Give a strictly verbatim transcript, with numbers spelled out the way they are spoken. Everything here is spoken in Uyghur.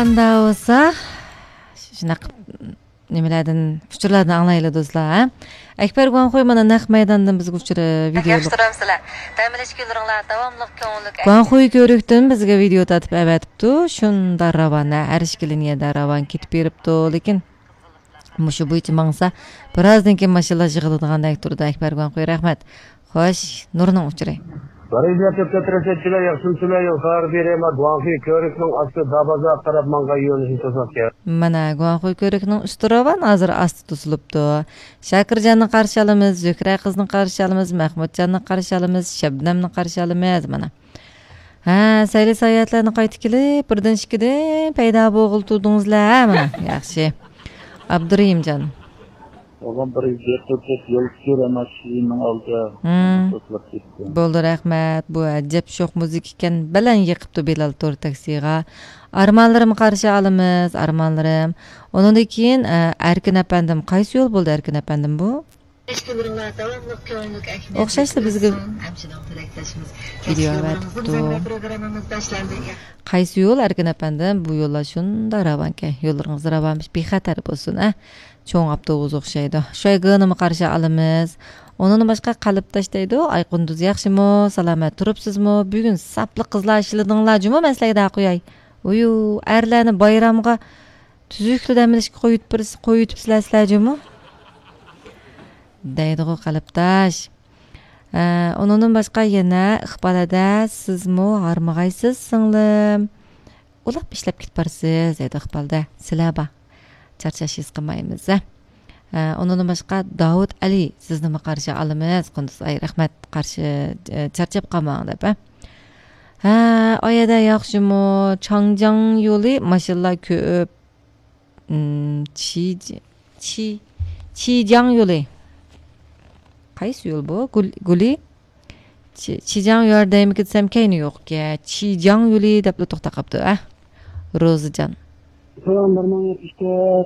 ئەمدى بولسا شۇنداق نېمىلەردىن، ئۇچۇرلاردىن ئاڭلايلى دوستلار، ھە؟ ئەكبەر گۇاڭخۇي مانا نەق مەيداندىن بىزگە ئۇچۇر، ۋىدېو ياخشى تۇرامسىلەر؟ دەم ئېلىش كۈنلىرىڭلار داۋاملىق كۆڭۈللۈك. گۇاڭخۇي كۆۋرۈكتىن بىزگە ۋىدېو تارتىپ ئەۋەتىپتۇ. شۇنداق راۋان، ھە، ھەر ئىككىلىنى يەردە راۋان كېتىپ بېرىپتۇ. لېكىن مۇشۇ بويىچە ماڭسا، بىرازدىن كېيىن ماشىنىلار يىغىلىدىغاندەك تۇرىدۇ. ئەكبەر گۇاڭخۇي، رەھمەت. خوش، نۇرنىڭ ئۇچۇرى. بەرىكەتلىك تۆت رەسىدچىلەر، ياخشىمۇسىلەر؟ يول خەۋەر بېرەي، ما گۇاڭخۇي كۆۋرۈكنىڭ ئاستى دابازار قاراپ ماڭغان يۆنىلىشنى توسۇۋاتقان. مانا، گۇاڭخۇي كۆۋرۈكنىڭ ئۈستى راۋان، ھازىر ئاستى توسۇلۇپتۇ. شاكىرجاننى قارشى ئالىمىز، زۆھرە قىزنى قارشى ئالىمىز، مەھمۇتجاننى قارشى ئالىمىز، شەبنەمنى قارشى ئالىمىز، مانا. ھە، سەيلە ساياھەتلەرنى قايتا كېلىپ، بىردىن ئىككىدىن پەيدا بولغىلى تۇردىڭىزلەر، ھە، مانا، ياخشى. ئابدۇرېھىمجان. ئۇلار بىر يېقىپ يول تۇتۇپ، ئەمما كېيىننىڭ ئالدى توسۇلۇپ كەتتى. بولدى، رەھمەت. بۇ ئەجەب شوخ مۇزىكا ئىكەن. بەلەن يېقىپتۇ بىلال تور تاكسىغا. ئارمانلىرىم قارشى ئالىمىز، ئارمانلىرىم. ئۇنىڭدىن كېيىن، ئە، ئەركىن ئەپەندىم. قايسى يول بولدى، ئەركىن ئەپەندىم، بۇ؟ ئوخشاشلا بىزگە ۋىدېئو ئەۋەتىپتۇ. قايسى يول، ئەركىن ئەپەندىم؟ بۇ يوللار شۇنداق راۋانكەن. يوللىرىڭىز راۋان، بىخەتەر بولسۇن، ئە. چوڭ ئاپتوبۇس ئوخشايدۇ. شۇيگېنىمۇ قارشى ئالىمىز. ئۇنىڭدىن باشقا قەلبداش دەيدۇ. ئاي قۇندۇز، ياخشىمۇ؟ سالامەت تۇرۇپسىزمۇ؟ بۈگۈن ساپلا قىزلار ئىشلىدىڭلار جۇمۇ، مەن سىلەرگە دەپ قوياي. ئۇيۇ، ئەرلەرنى بايرامغا تۈزۈكلا دەم ئېلىشقا قويۇپ بېرىس-، قويۇۋېتىپسىلەر سىلەر جۇمۇ. دەيدىغۇ قەلبداش. ئە، ئۇنىڭدىن باشقا يەنە ئىقبال ھەدە، سىزمۇ ھارمىغايسىز سىڭلىم. ئۇلاپ ئىشلەپ كېتىپ بارىسىز، دەيدۇ ئىقبالدە. سىلەر بار. چارچاش ھېس قىلمايمىز، ھە. ئە، ئۇنىڭدىن باشقا داۋۇت ئەلى، سىزنىمۇ قارشى ئالىمىز، قۇندۇز ئاي، رەھمەت، قارشى، ئە، چارچاپ قالماڭ دەپ، ھە. ھە، ئايەدە ياخشىمۇ؟ چاڭجياڭ يولى ماشىنىلار كۆپ. ئىم، چى-، چى-، چىجياڭ يولى. قايسى يول بۇ؟ گۇل-، گۇلى؟ چى-، چىجياڭ يولى دەيمىكىن دېسەم، كەينى يوقكەن. چىجياڭ يولى دەپلا توختاپ قاپتۇ، ئە. روزىجان. سالام، بىر مىڭ يەتمىش تۆت.